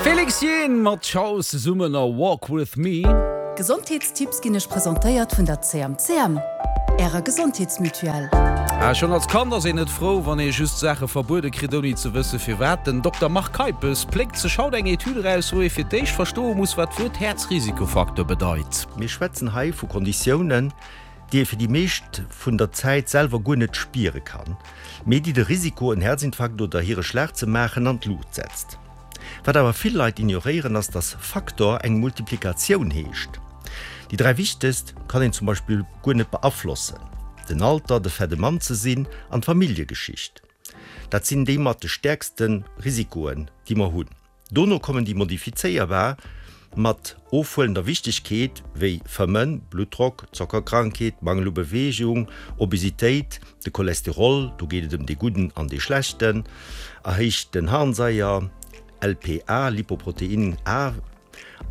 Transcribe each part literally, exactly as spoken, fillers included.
Felix Jaehn mat Shouse zesummen a Walk With Me. Gesondheetstipps ginn iech presentéiert vun der C M C M, ärer Gesondheetsmutuelle. Ah, schonn als Kand ass een net frou, wann ee just Saache verbuede kritt, ouni ze wësse firwat. Den Dokter Marc Keipes pléckt sech haut eng Etüd eraus, wou ee fir d'éischt verstoe muss, wat d'Wuert Häerzrisikofaktor bedeit. Mir schwätzen hei vu Konditiounen, déi ee fir déi meescht vun der Zäit selwer guer net spiere kann, mee déi de Risiko, en Häerzinfarkt oder Hireschlag ze maachen, an d'Luucht setzt. Wat awer vill Leit ignoréieren, ass, dass Faktor eng Multiplikatioun heescht. Déi dräi wichtegst kann een zum Beispill guer net beaflossen, den Alter, de Fait de Mann ze sinn an d'Familljegeschicht. Dat sinn déi mat de stäerkste Risikoen, déi mer hunn. Dono kommen déi modifizéierbar mat ofhuelender Wichtegkeet, wéi Fëmmen, Bluttdrock, Zockerkrankheet, Mangel u Beweegung, Obesitéit, de Cholesterol, do geet et ëm dee gudden an dee schlechten, erhéichten Harnsaier, L P A, Lipoprotein A,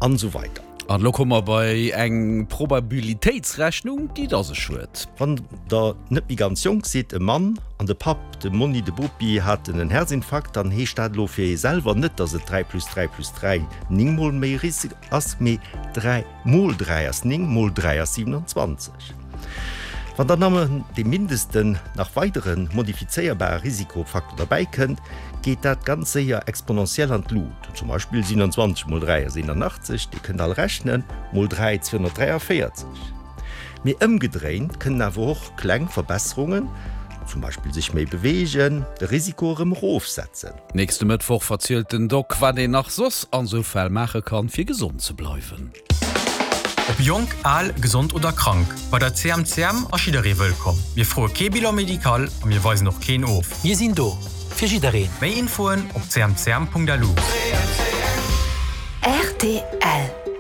an esou weider. An elo komme mer bei eng Probabilitéitsrechnung, déi et a sech huet. Wann der net méi ganz jonk sidd, e Mann an de Papp, de Monni, de Bopi haten en Häerzinfarkt, dann heescht dat elo fir ee selwer net, dass et dräi plus dräi plus dräi néng mol méi Risk ass, mee dräi mol dräi ass néng, mol dräi ass siewenanzwanzeg. Wann dann nëmmen dee mindesten nach weidere modifizéierbare Risikofaktor derbäi kënnt, geet dat ganz séier exponentiell an d'Lut. Zum Beispill siewenanzwanzeg mol dräi ass eenanachtzeg, Dir kënnt all rechnen, mol dräi zweehonnertdräiavéierzeg. Mee ëmgedréint kënnen awer och kleng Verbesserungen, zum Beispill sech méi beweegen, de Risiko erëm erofsetzen. Nächste Mëttwoch verzielt den Doc, wat een nach soss an sou Fäll maache kann, fir gesond ze bleiwen. Ob jonk, al, gesond oder krank, bei der C M C M ass jidderee wëllkomm. Mir froe kee Bilan médical a mir weisen och keen of. Mir sinn do fir jiddereen. Méi Infoen op C M C M Punkt L U. R T L.